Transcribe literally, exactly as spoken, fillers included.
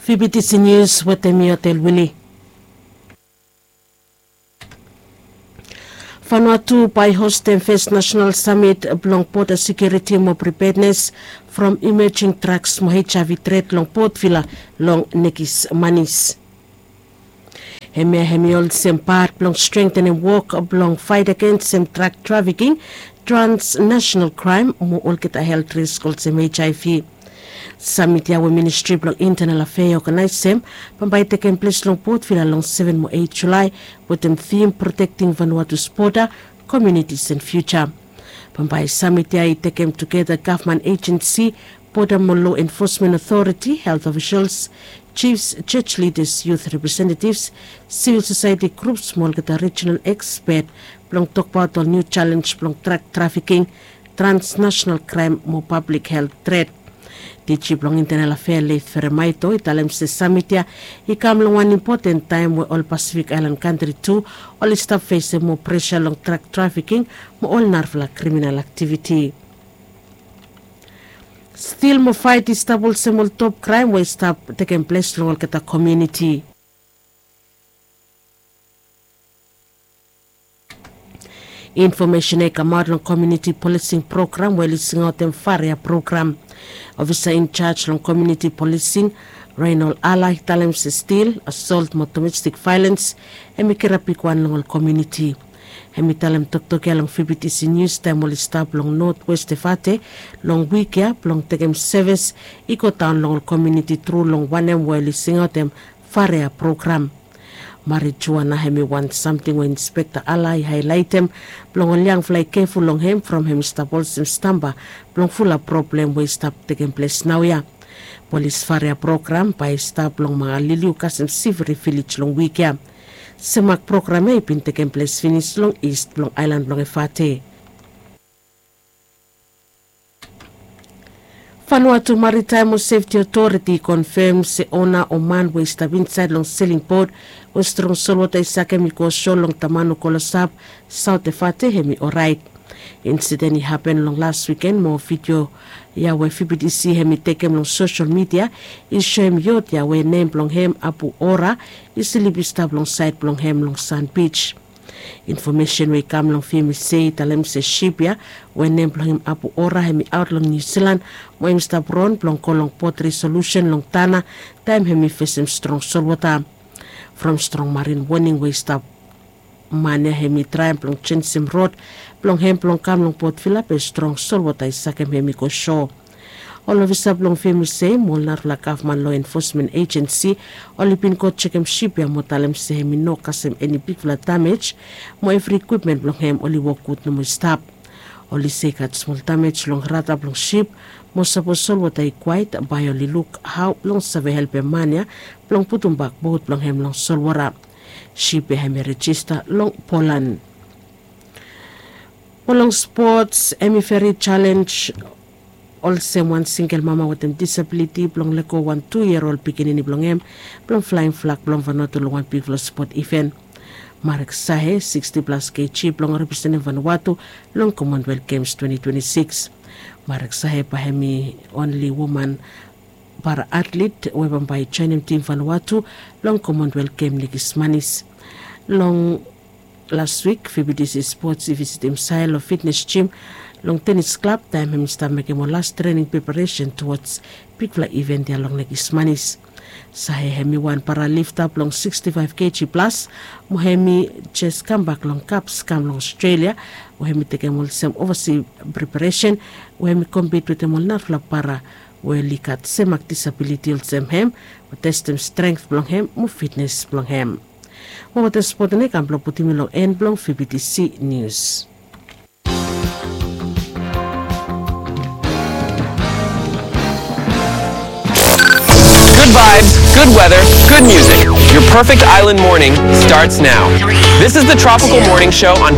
Fibitisi nius wetem mi Otel Wili. Vanuatu bae i hostem fes nasenal samit blong boda sekiuriti mo pripednes from imejing draks mo HIV tret long Port Vila long nekis manis. Hemia hem i olsem pat blong strengtenem wok blong faet agensem drak trafiking, transnasenal kraem mo olgeta helt risk olsem HIV. Samit ya we ministri blong intenal afea i oganaesem bambae i tekem ples long Port Vila long seven mo eit Julae wetem tim protekting Vanuatu's boda, komiunitis and fiuja. Bambae samit ya i tekem tugeta gavman ejensi, boda mo lo enfosmen otoriti, helt ofisels, jifs, joj lidas, yut representetivs, sivil sosaeti grups mo olgeta rijinal ekspet blong tokbaot ol niu jalenj blong drak trafiking, transnasenal kraem mo pablik helt tret. Diji blong intenal afea Leif Feremaito i talem se samit ya i kam long wan impoten taem we ol Pasifik aelan kantri tu oli stap fesem moa presa long drak trafiking mo ol narafala kriminal aktiviti. Stil mo faet i stap olsem ol top kraem we i stap tekem ples long olgeta komiuniti. Infomesen ya i kamaot long komiuniti polising program we oli singaotem Faria program. Ofisa injaj long komiuniti polising, Reinol Ala, i talem se stil, asolt mo domestik vaelens hem i kirap bigwan long ol komiuniti. Hem i talem toktok ya long Fibitisi Nius taem oli stap long notwes Tefate long wik ya blong tekem sevis i godaon long ol komiuniti tru long wanem we oli singaotem Faria program. Marijuana hem i wan samting we Inspekta Ala i haelaetem blong ol yangfala i keful long hem from hem i stap olsem stamba blong fulap problem we i stap tekem ples naoia. Polis Faria program bae i stap long Mangaliliu kasem Siviri vilej long wik ya. Semak program ya i bin tekem ples finis long ist blong aelan blong Efate. Vanuatu Maritaem mo Sefti Otoriti i konfem se ona o man we i stap insaed long seling bot we strong solwota i sakem i go so long Tamanu Kolosap, Saot Efate hem i oraet. Insiden i hapen long las wiken mo vidio ya we Fibitisi hem i tekem long sosel midia i soem yot ya we nem blong hem Abu Ora i slip i stap long saed blong hem long San Bij. Infomesen we i kam long Fibitisi i talem se sip ya we nem blong hem Abu Ora hem i aot long Niu Silan mo hem i stap ron blong go long bot resolusen long Tana taem hem i fesem strong solwota. From strong marin woning we i stap man ya hem i traem blong jenjem rod blong hem blong kam long Port Vila be strong solwota i sakem hem i go so. Ol ofisa blong Fibitisi mo ol narafala gavman lo enfosmen ejensi oli bin go jekem sip ya mo talem se hem i no kasem eni bigfala damej mo evri ikwipmen blong hem oli wok gud nomo i stap. Oli se i gat smol damej long rada blong sip mo sapos solwota i kwaet bae oli luk hao blong save helpem man ya blong putumbak bot blong hem long solwota. Sip ya hem i rejista long Polan. Mo long spots hem i veri jalenj olsem wan singel mama wetem disabiliti blong lego wan tu yia ol pikinini blong hem blong flaem flag blong Vanuatu long wan bigfala spot iven. Marek Sahe, siksti plas keji, blong representem Vanuatu long Commonwealth Games twenti twenti sikis. Marek Sahe bae hem i onli woman para atlet we bambae i joenem tim Vanuatu long Commonwealth Games nekis manis. Long las wik Fibitisi Spots i visitim Sahe long fitnes jim long tenis klab taem hem i stap mekem ol las trening preparesen tuwods bigfala iven ya long nekis manis. Sahe hem i wan paralifta blong siksti faef keji plas mo hem i jes kambak long kaps kam long Australia we hem i tekem olsem ovasi preparesen we hem i kompit wetem ol narafala para we oli gat semak disabiliti olsem hem mo testem strength blong hem mo fitnes blong hem. Mo wetem spot ya i kam blong putum mi long en blong Fibitisi Nius. Good vibes, good weather, good music. Your perfect island morning starts now. This is the Tropical Morning Show on